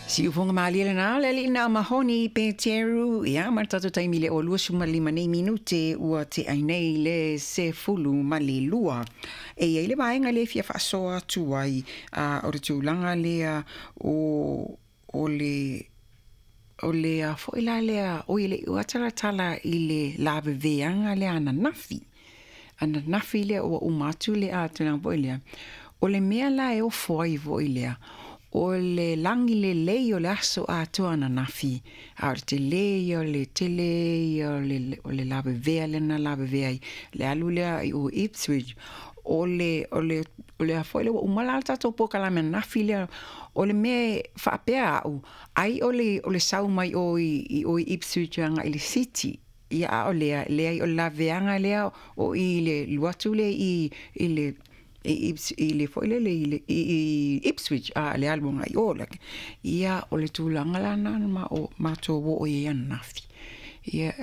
Siufoga malie lena le alii na Mahoni Peteru, ia ma le tatou taimi le 25 nei minute ua tea ai nei le 12. E i ai le vaega lea e fia faasoa atu ai, o le tulaga lea o o le o le a foi la lea, oi e le i oo lava talatala i le laveveaga lea ananafi, ananafi lea ua uma atu le tulaga foi lea, o le mea la e ofo ai foi lea, o le lagi lelei o le aso atoa ananafi, a o le tele ia o le tele ia o le lavevea lea na lavevea ai, le alu lea i o i Ipswich, o le o le o le a foi lea ua uma la le tatou polokalame ananafi lea, o le mea e faapea au, ai o le o le sau mai o i o i Ipswich agai i le city, ia a o lea, leai o le laveveaga lea o i le alu atu lea i i le i i le foi lele i le i Ipswich a le alu agai i o. Ia o le tulaga la lena na matou oo i ai ananafi. Ia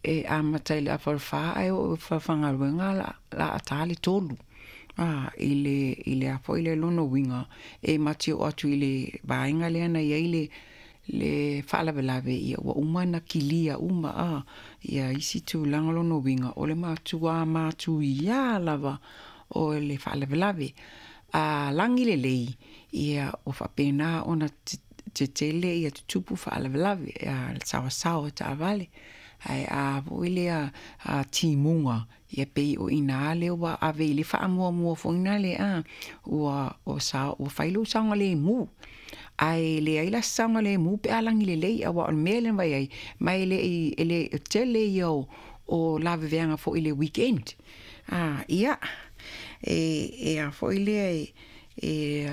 e amata i le afa o le 4 ae oo i le falefaigaluega o le a ta le 3. I le i le a foi le lona uiga, e ma te oo atu i le vaega lea na i ai le le faalavelave, ia ua uma ona kilia uma ia isi tulaga. O lona uiga, o le matua matuia lava o le faalavelave. A lagi lelei, ia ua faapena ona tetele ia tutupu faalavelave, le saoasaoa o taavale. Ae a foi lea a timuga, ia pei o i ina lea ua ave i ai le faamuamua foi lea ua ua fai lou saogalemu. Ae leai la se saogalemu pe a lagi lelei, aua o le mea lea na vaai ai, ma e le i e le tele ia o laveveaga foi i le weekend. Ia, e a foi lea e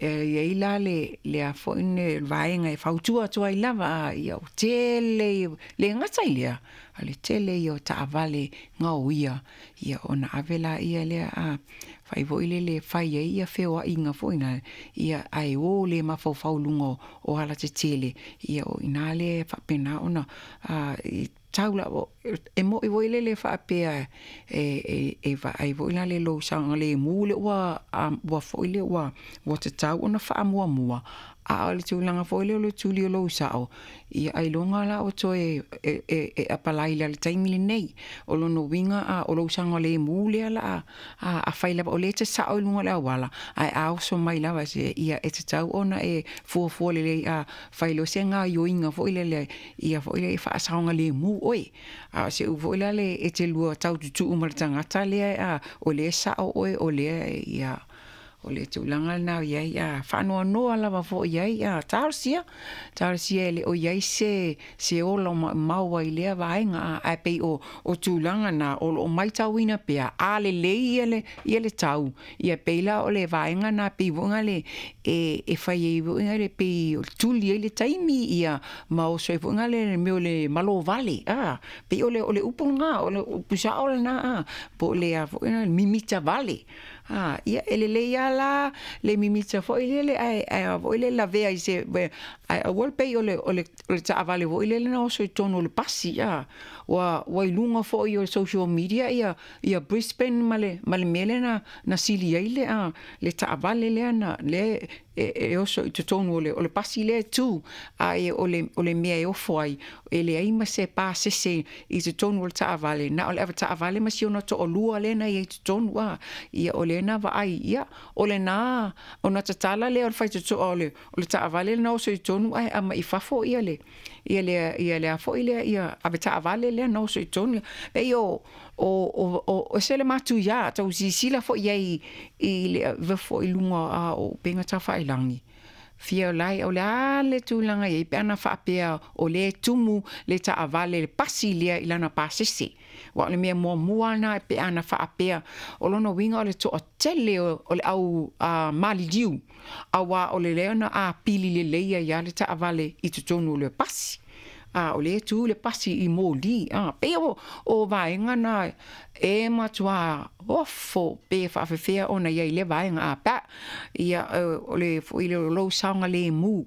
i ai la le a foi le vaega e fautua atu ai lava, ia ua tele, le gata i lea, a le tele ia o taavale gaoia, ia ona ave laia lea a fai foi lele e fai ai ia feoaiga foi na, ia ae o le mafaufau i luga o alatetele, ia o i ina lea e faapena ona tau lava, e moni foi lele faapea e vaai foi la i lou saogalemu lea ua foi lea ua tatau ona faamuamua, a o le tulaga foi lea o le tuli o lou sao, ia ailoga la ua toe e apalai i le taimi lenei. O lona uiga o lou saogalemu lea o le a, afai lava o lea e te sao i luga o le auala, ae a oso mai lava ia e tatau ona e fuafua lelei, a fai loa se gaoioiga foi lele ia foi lea faasaogalemu oe. A o se upu foi lale e te lua tau tutuu ma le tagata lea o lea e sao oe o lea ia o le tulaga lena o i ai, a faanoanoa lava foi i ai, a talosia, talosia e le o i ai se se ola o maumau ai i lea vaega, ae pei o tulaga na o lo o matauina pea, a lelei ia le ia le tau, ia pei la o le vaega na pei foi lea e fai ai foi le pei e tuli ai le taimi ia ma oso ai foi le mea o le malo vale, pei o le upu lena, o le upu sao lena, po o le a foi le mimita vale. Ia e lelei lava la le mimita foi lele ae a foi lele lavea i se ae aua le pei o le o le taavale foi lele na oso i totonu o le pasi ua i luga foi o social media ia ia Brisbane ma le ma le mea lea na sili ai le le taavale lea na lea e oso i totonu o le pasi lea e tu, ae o le mea e ofo ai, e leai ma se pasese i totonu o le taavale, na o le avetaavale ma si ona toalua lea na i ai i totonu, ia o lea na vaai, ia o lena ona tatala lea o le faitotoa o le taavale na oso i totonu ae aumai i fafo ia le ia le ia le a foi lea ia avetaavale lea na oso i totonu. E o o ese le matuia tau silasila foi i ai i le ave foi i luga o upega tafailagi fia lae o le a le tulaga i ai pe ana faapea o lea e tumu le taavale le pasi lea i lana pasese. Aua o le mea muamua lena pe ana faapea o lona uiga o le toatele o le au maliliu, aua o le lea na apili lelei ai lava le taavale i totonu o le pasi. a o lea e tu le pasi i moli a pei o vaega na e matuā ofo pe faafefea ona i ai i lea vaega a pe a ia o le foi lea o lou saogalemu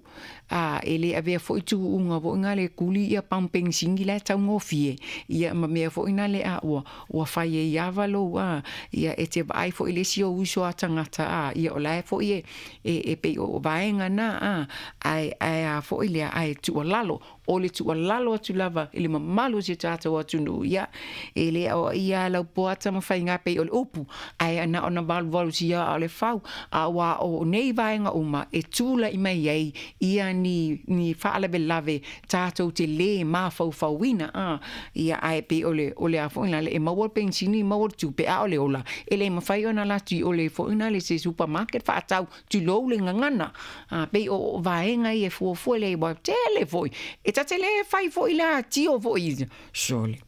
a e le avea foi tuuga foi na le kuli ia pamu penisini la e taugofie ia ma mea foi na le a ua fai ai lava lou a ia e te vaai foi i le isi ou uso a tagata a ia o la e foi e pei o vaega na a ae a foi lea ae tuualalo o le tuualalo atu lava i le mamalu o si o tatou atunuu ia e le aoaia lava lau poata ma faiga pei o le upu ae na ona valuvalusia aa o le fau aua o nei vaega uma e tulai mai ai ia ni faalavelave tatou te lē mafaufauina a ia ae pei o le a foi la e maua le penisini maua le tupe a o le ola e le mafai ona alu atu i o le foi na le se supermarket faatau tulou le gagana a pei o vaega ia e fuafua lelei aua tele foi e ta te le fai foi la tio foi sole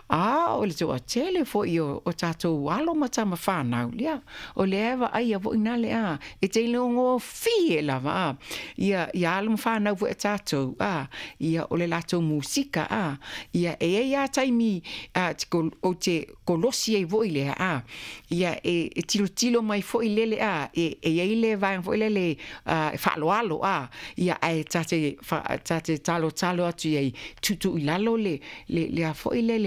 a o le toatele foi o tatou alo ma tama fanau ia o lea e vaaia foi na le a e te iloagofie lava a ia ia alo ma fanau foi a tatou a ia o le latou musika a ia e i ai lava taimi ou te kolosi ai foi lea a ia e tilotilo mai foi lele a e i ai le vaega foi lele e faaaloalo a ia ae ta te talotalo atu i ai tuutuu i lalo le a foi le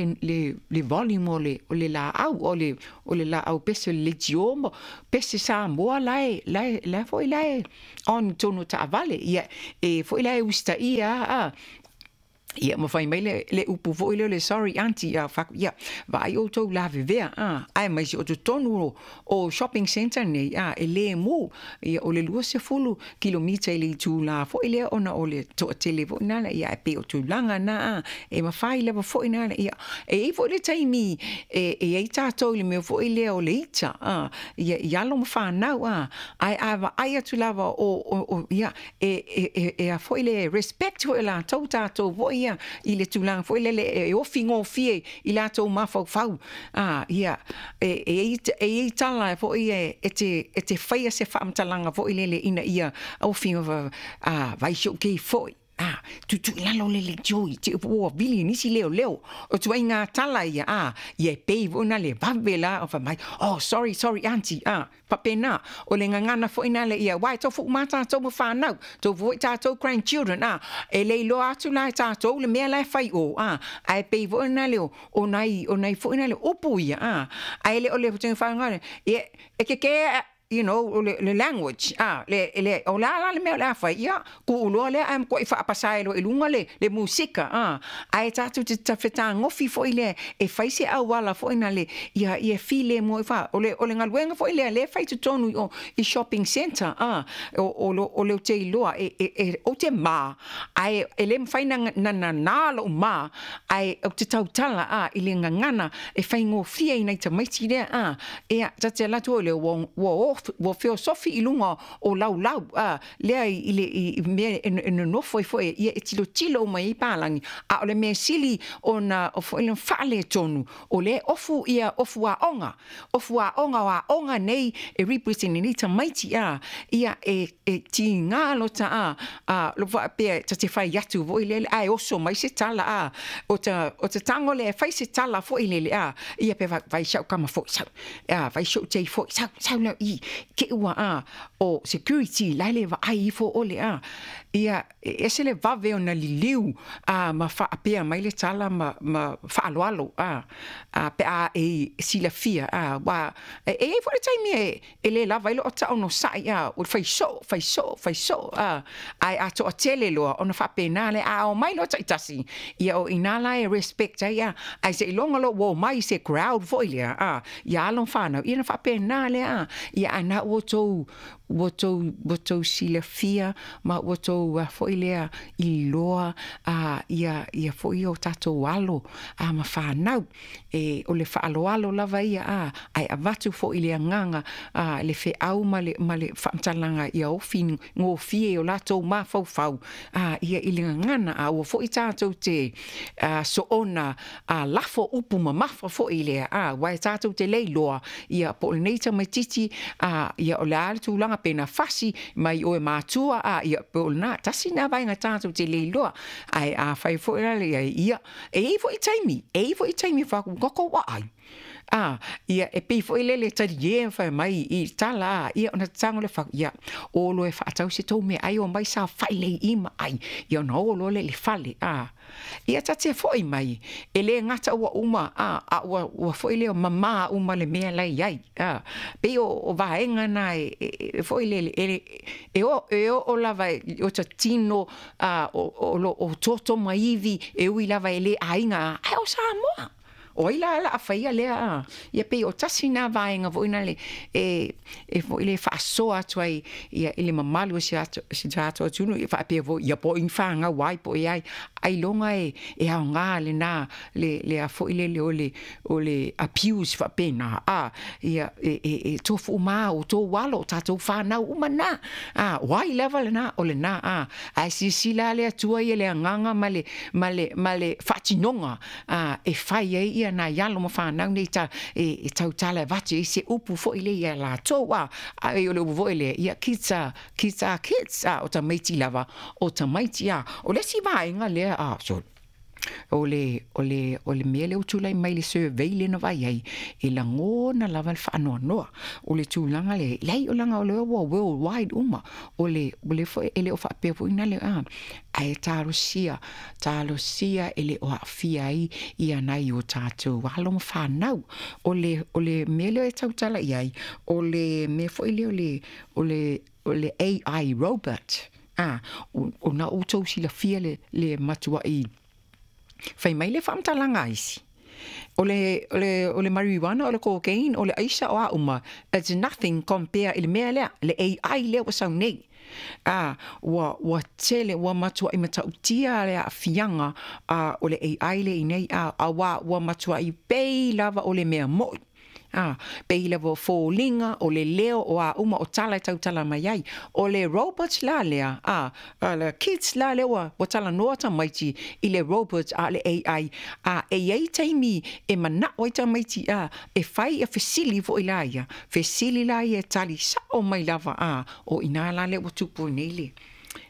le volume o le laau o le laau pese o le leitio ma pese Samoa la foi la e on i totonu o taavale ia e foi la e usitaia a ia ma fai mai le upu foi lea o le sorry aunty a fai atu ia vaai outou lavevea a aemaise o totonu o shopping centre nei a e le mu ia o le 20 kilomita i le itula foi lea ona o le toatele foi na ia e pei o tulaga na a e mafai lava foi na ia e i ai foi le taimi e i ai tatou i le mea foi lea o le ita a ia i alo ma fanau a ae a vaai atu lava o ia e a foi le respect foi o latou tatou foi ia i le tulaga foi lele e ofi gofie i latou mafaufau a ia e i ai tala foi e te faia se faamatalaga foi lele ina ia ofi a vai si ou kei foi a tuutuu i lalo le leitio i te ua vili nisi leoleo o ituaiga tala ia a ia e pei foi na le vave la o fai mai oh sorry sorry aunty a faapena o le gagana foi na le ia aua e tofu uma tatou ma fanau tofu foi tatou grandchildren a e le iloa atu la e tatou le mea la e fai o a ae pei foi na le o nai foi na le upu ia a ae le o le whainga e ke ke you know le language a le o la la le mea o le a fai ia kuuloa lea ae matuai faapasa ai loa i luga le musika a ae tatou te fetagofi foi lea e fai se auala foi na le ia ia file mo fa o le galuega foi lea lea e fai totonu i o i shopping centre a o le te iloa e ou te ma ae e le mafai na nana lou ma ae ou te tautala a i le gagana e faigofie i nai tamaiti lea a ia ta te alu atu le ua feosofi i luga o laulau a lea i le i mea e nonofo ai foi ia e tilotilo mai ai palagi a o le mea sili ona o foi le faaletonu o lea ofu ia ofu aoga ofu aoga o aoga nei e represent nei tamaiti a ia e tiga lota a lo faapea ta te fai atu foi lele ae oso mai se tala a o ta tago lea e fai se tala foi lele a ia pe vai sau kama foi sau a vai sau tei foi sau sau lea i ke ua a o security la le vaai ifo ole a ia e ese le vave ona liliu a ma faapea mai le tala ma faaaloalo a pe a e silafia a ua e i ai foi le taimi e le lava ai loo taonosai a o le fai soo fai soo fai soo a ae a toatele loa ona faapena lea a omai loa taitasi ia o ina la e respect ai a ae seiloga loa ua omai se crowd foi lea a ia alo ma fanau ia na faapena lea a ia ana ua tou silafia ma ua tou foi lea iloa a ia foi o tatou alo a ma fanau e o le faaaloalo lava ia a ae avatu foi le agaga a le feau ma le faamatalaga ia ofi gofie o latou mafaufau a ia i le gagana a ua foi tatou te soona a lafo upu mamafa foi lea a aua e tatou te le iloa ia po o lenei tamaitiiti a ia o le a le tulaga tulaga pe na fasi mai o e matua a ia pe o lena tasi na vaega tatou te le iloa ae afai foi la le ia e i ai foi taimi e i ai foi taimi e faaku tatou aai a ia e pei foi lele talie fai mai i tala a ia ona tago le fau ia o loa e faatau se tou meaai omai saofai lelei i ma ai ia ona o loa lea i le fale a Ia ta te foi mai, e le gata ua uma, a, a ua, ua foi lea mamā uma le mea la e i ai, a. Pei o, o vaega na e, e, e foi lele, e, e, o, e oo lava i o ta tino, a, o, o lo o toto ma ivi, e ui lava e le aiga, a, ae o Samoa. O ai la o le a faia lea a? Ia pei o tasi na vaega foi na le e e foi le faasoa atu ai ia i le mamalu o si ato si tatou atunuu ia faapea foi ia po o ni fanau ai po o ai ailoga e e aoga lena le le a foi lele o le o le abuse faapena a ia e e e tofu uma a outou alo o tatou fanau uma na a o ai lava lena o lena a ae silasila le Atua ia le agaga ma le ma le ma le faatinoga a e fai ai ia nai alo ma fanau nei ta, e, e tautala e avatu ai se upu foi lea iā latou, a, a o le upu foi lea, ia kids are, kids are kids, a o tamaiti lava, o tamaiti, a. O le isi vaega lea, a, sorry, o le, o le, o le mea lea ua tulai mai i le survey lea na vaai ai, e lagona lava le faanoanoa. O le tulaga lea, leai o leaga o lea ua worldwide uma, o le, o le foi, e le o faapea foi na le, a, ae talosia, talosia e le o aafia ai ia nai o tatou alo ma fanau. O le, o le mea lea e tautala i ai, o le mea foi lea o le, o le, o le AI robot, a, o, o na outou silafia le, le matuai fai mai le faamatalaga a isi. O le, o le, o le marijuana, o le cocaine, o le aisa, o a uma, it's nothing compare i le mea lea, le AI lea ua sau nei. A, ua, ua tele, ua matuai matautia le aafiaga a, o le AI lea i nei, a, auā ua matuai pei lava o le mea moʻi. A, pei lava o foliga, o le leo, o a uma, o tala e tautala mai ai. O le robot la lea, a, a le kids la lea ua, ua talanoa tamaiti i le robot a o le AI, a e i ai taimi e manaʻo ai tamaiti, a, e fai ia fesili foi la ia, fesili la ia e tali saʻo mai lava, a, o i inā la lea ua tupu ai nei le,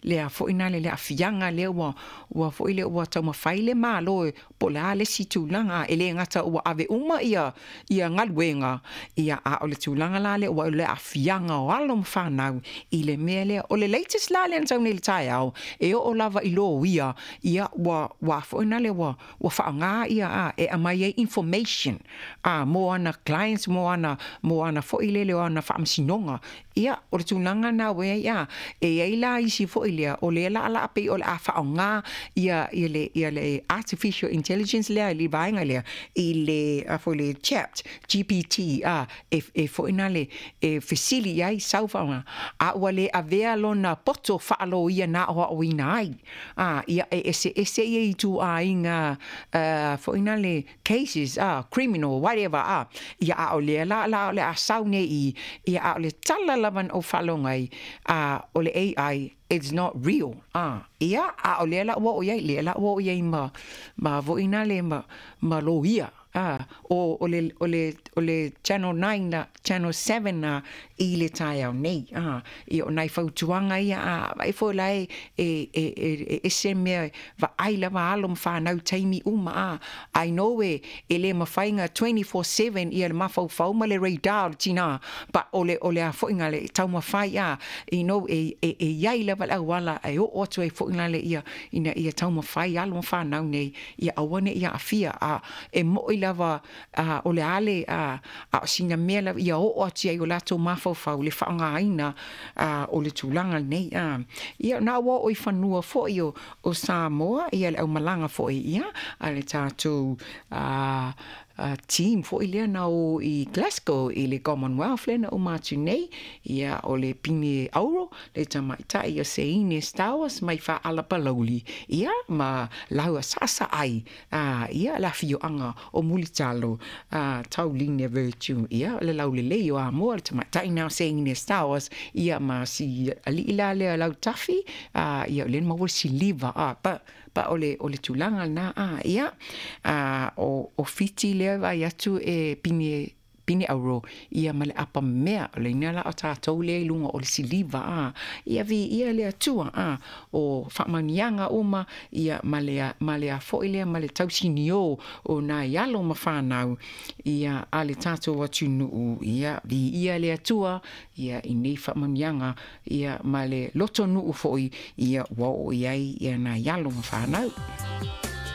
lea foi na le aafiaga lea ua, ua foi lea ua taumafai le Malo e po o le a le isi tulaga, e le gata ua ave uma ia, ia galuega, ia a o le tulaga la lea ua o le aafiaga o alo ma fanau i le mea lea. O le latest la lea na sau nei i le taeao, e oo lava i loia, ia ua, ua foi na le ua, ua faaaoga ia a e aumai ai information a mo ana clients, mo ana, mo ana foi lele o ana faamasinoga. Ia, o le tulaga lena ua i ai, a e i ai la isi foi lea o lea laalaa pei o le a faaaoga ia, ia le, ia le artificial intelligence lea i le vaega lea i le, a foi le chat GPT, a e, e foi na le e fesili i ai sau faaaoga, a ua le avea lona poto faaloia na aoaoina ai. A, ia e eseese ia ituaiga foi na le cases, a, criminal, whatever, a, ia a o lea la la o le a sau nei i, ia a o le tala lava na ou faalogo ai, a, o le AI, it's not real, a, ia, a o lea la ua oo i ai, lea la ua oo i ai ma, ma foi na le ma, ma loia. A, o, o le, o le, o le Channel 9 la, Channel 7 la i le taeao nei. A, ia o nai fautuaga ia, a, vaai foi la e, e, e, e, e ese mea e vaai lava alo ma fanau i taimi uma, a, I know e, e le mafai na 24/7 ia le mafaufau ma le radar o le tinā, but o le, o le a foi na le taumafai, a, you know, e, e, e i ai lava le auala e oo atu ai foi na le ia, ina ia taumafai alo ma fanau nei, ia aua ne i aafia, a e moʻi lava a o le a le a a o sina mea lava ia oo atu ai o latou mafaufau le faaaogaina a o le tulaga lenei a. Ia na ua oo i fanua foi o o Samoa ia le aumalaga foi ia a le tatou a team foi lea na o i Glasgow i le Commonwealth lea na uma atu nei, ia o le pine auro le tamaitai o Seine Stowers mai Faalapalauli, ia ma laua saasaai a ia le afioaga o Mulitalo a Tauline Virtue, ia le laulelei o Amoa le tamaitai na o Seine Stowers, ia ma si alii la lea Lautafi a ia o lea na maua le siliva a pa Pa o le, o le tulaga lena, a, ia, a, o, o Fiti lea e vaai atu e pine, pine auro ia ma le apamea o le ina la o tatou lea i luga o le siliva a ia viia le Atua a o faamanuiaga uma ia ma le ma le a foi lea ma le tausiniō o nai alo ma fanau ia a le tatou atunuu ia viia le Atua ia i nei faamanuiaga ia ma le lotonuu foi ia ua oo i ai ia nai alo ma fanau.